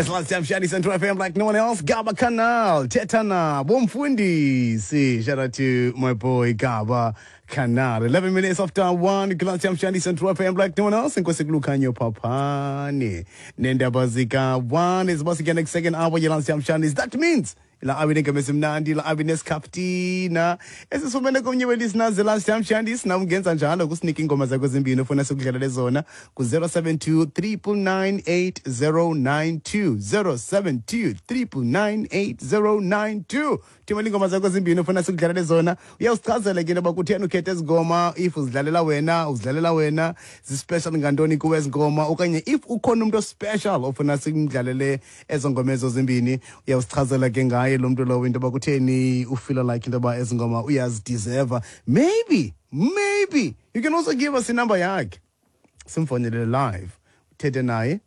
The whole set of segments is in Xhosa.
It's last time Shani Central FM like no one else. Gaba Canal, Tetana, Bomfundisi. Shout out to my boy Gaba Canal. 11 minutes after 1, Last time Shani Central FM like no one else. Nkosi Kulukhanyo Papane. Nendaba zika 1 is once again next second hour. Last time Shani. That means la abe nengemesimnandi la abe nesikhafutina esisifumene komnye welisteners the last time shandis nam ungenza njalo kusinika iingoma zakho ezimbini ofuna sikudlalele zona ku-072 999 072 999 thumela iingoma zakho ezimbini ofuna sikudlalele zona. Uyawusichazela ke into yoba kutheni ukhethe ezi ngoma, if uzidlalela wena, uzidlalela wena zispecial ngantoni kuwe ezi ngoma, okanye if ukhona umntu ospecial ofuna simdlalele ezo ngoma ezo zimbini, uyawusichazela ke ngaye lo mntu lowo into yoba kutheni ufila like into yoba ezi ngoma uyazideserva. Maybe you can also give us inumber yakhe, simfonele live, uthethe naye,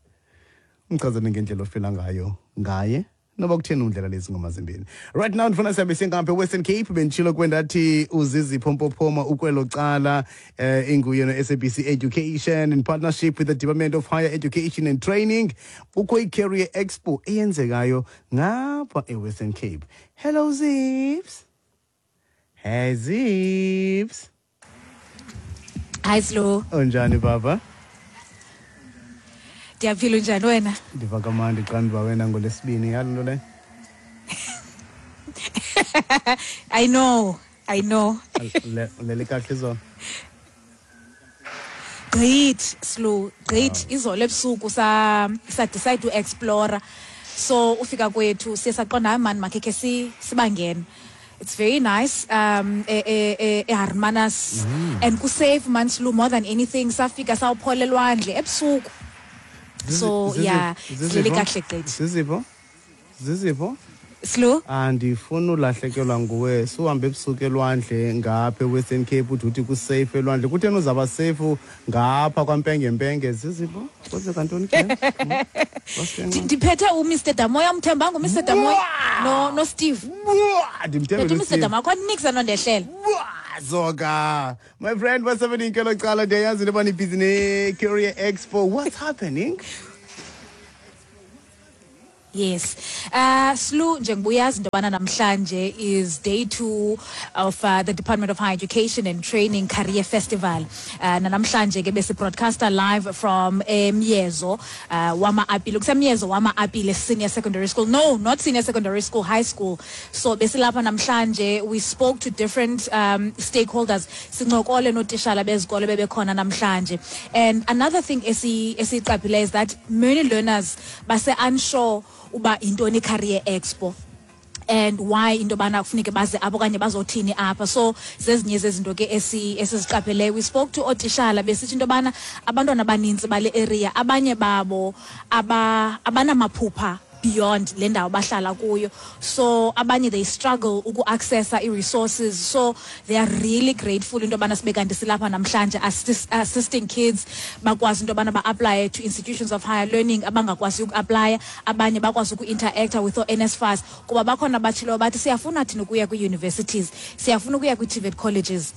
umchazele ngendlela ofila ngayo ngaye noba kutheni undlela lezi ngoma zimbini. Right now ndifuna sihambe singapha eWestern Cape. Benditshilo kwendathi uZizipho Mpophoma ukwelo cala, inguye no-SABC Education in partnership with the Department of Higher Education and Training. Kukho i-Career Expo eyenzekayo ngapha eWestern Cape. Hello Zips. Hey Zips. Hi Slo. Unjani baba? Ndiyaphila, unjani wena? Ndiva kamandi xa ndiva wena ngolwesibini, yalo nto leyo. I know, I know. Ulele kakuhle izolo? Gqithi Slo, gqithi. Izolo ebusuku sa decide to explore. So ufika kwethu siye saqonda, hayi mani, makhe khe sibangene. It's very nice eHermanus and kusafe man Slo, more than anything. Safika sawuphola elwandle ebusuku. So yeah, silele kakuhle gqithi. Zizipho, Zizipho. Slo. Andifuni ulahlekelwa nguwe. Suhambe ebusuku elwandle ngapha eWestern Cape, uthi kusafe elwandle. Kutheni uzawuba safe ngapha kwaMpengempenge, Zizipho? Kwenzeka ntoni ke? What's going on? Ndiphethe uMr Damoya, umthembanga uMr Damoya no Steve. Ndimthembile. Phethe uMr uSteve. Damoya, akho niks anondehlela. Zoka. My friend, what's happening kwelo cala? Ndiyayazi into yoba nibhizi ne-Career Expo. What's happening? Yes. Slu, njengoba uyazi into yobana namhlanje is day 2 of the Department of Higher Education and Training Career Festival. Namhlanje ke besi broadcaster live from Myezo wama-Apile. Kusemyezo wama-Apile Senior Secondary School. No, not senior secondary school, high school. So besilapha namhlanje, we spoke to different stakeholders. Sincokole nootishala bezikolo bebekhona namhlanje. And another thing esiyiqaphile is that many learners base unsure uba intoni Career Expo and why into yobana kufuneke baze apho okanye bazothini apha. So zezinye zezinto ke esiziqapheleyo. We spoke to ootishala, besithi into yobana abantwana abanintsi bale area, abanye babo abanamaphupha beyond le ndawo bahlala kuyo, so abanye they struggle uku-accessa i-resources. So they are really grateful into yobana sibe kanti silapha namhlanje assisting kids bakwazi into yobana ba-aplaye to institutions of higher learning, abangakwazi uku-aplaya, abanye bakwazi uku-interacta with oo-NSFAS, kuba bakhona abatshileyo bathi siyafuna thina ukuya kwii-universities, siyafuna ukuya kwii-TVET colleges,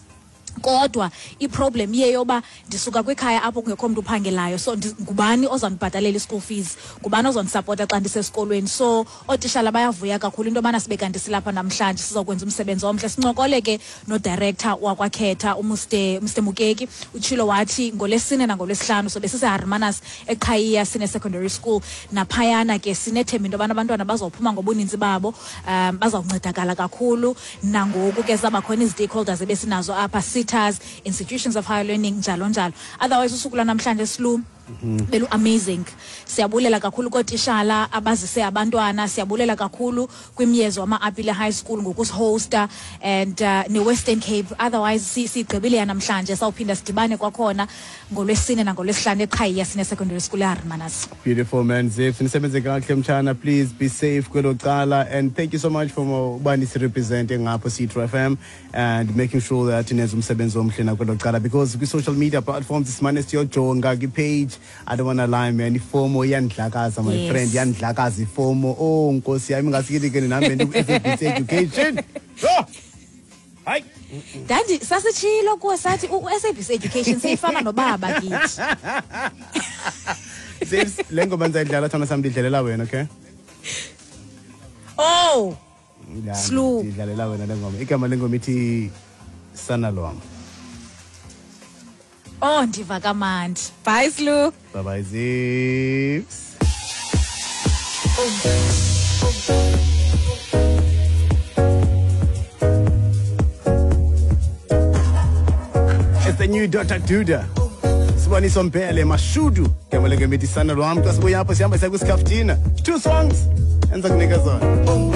kodwa iproblem iye yoba ndisuka kwikhaya apho kungekho mntu uphangelayo, so ngubani ozandibhatalela i-school fees, ngubani ozondisapota xa ndisesikolweni? So ootishala bayavuya kakhulu into yobana sibe kanti silapha namhlanje, sizokwenza umsebenzi omhle. Sincokole ke nodirector wakwaKhetha, uMr Mukeki, utshilo wathi ngolwesine nangolwesihlanu sobe siseHermanus eQhayiya Senior Secondary School. Naphayana ke sinethemba into yobana abantwana bazophuma ngobuninzi babo, bazawuncedakala kakhulu. Nangoku ke zabakhona izi-stakeholders ebesinazo apha, SETAs, institutions of higher learning, njalo njalo. Otherwise usuku lwanamhlanje Slu belu amazing. Siyabulela kakhulu kootishala abazise abantwana, siyabulela kakhulu kwimyezo wama-Apile High School ngokusihosta and ne-Western Cape. Otherwise sigqibile yanamhlanje, sawuphinda sidibane kwakhona ngolwesine nangolwesihlanu eQhayiya Senior Secondary School eHermanus. Beautiful man, Zips. Nisebenze kakuhle mtshana. Please be safe kwelo cala, and thank you so much for uba nisirepresente ngapho Citro FM and making sure that nenza umsebenzi omhle nakwelo cala, because kwi-social media platforms simane siyojonga kwi-page. I don't wanna lie man, iFOMO iyandlakaza my friend, iyandlakaza iFOMO. Oh nkosi yami, ingasikithi ke nami ndiku-SABC Education. Oh! Hayi. Ndandi sasitshilo kuwe sathi u-SABC Education seyifana nobaba kithi. Zips, le ngoma ndizayidlala thana sam, ndidlalela wena, okay? Oh. Ya, Slu. Ndidlalela wena le ngoma. Igama lengoma ithi Sana Lwam. Oh, ndiva kamandi. Bye, Slu. Bye bye, Zips. It's the new Dr. Duda. Siboniso Mbele Mashudu. Igama lengoma ithi Sana Lwam. Xa sibuya apho sihamba siya kwisikaftina. Two songs. Enza kunika zona.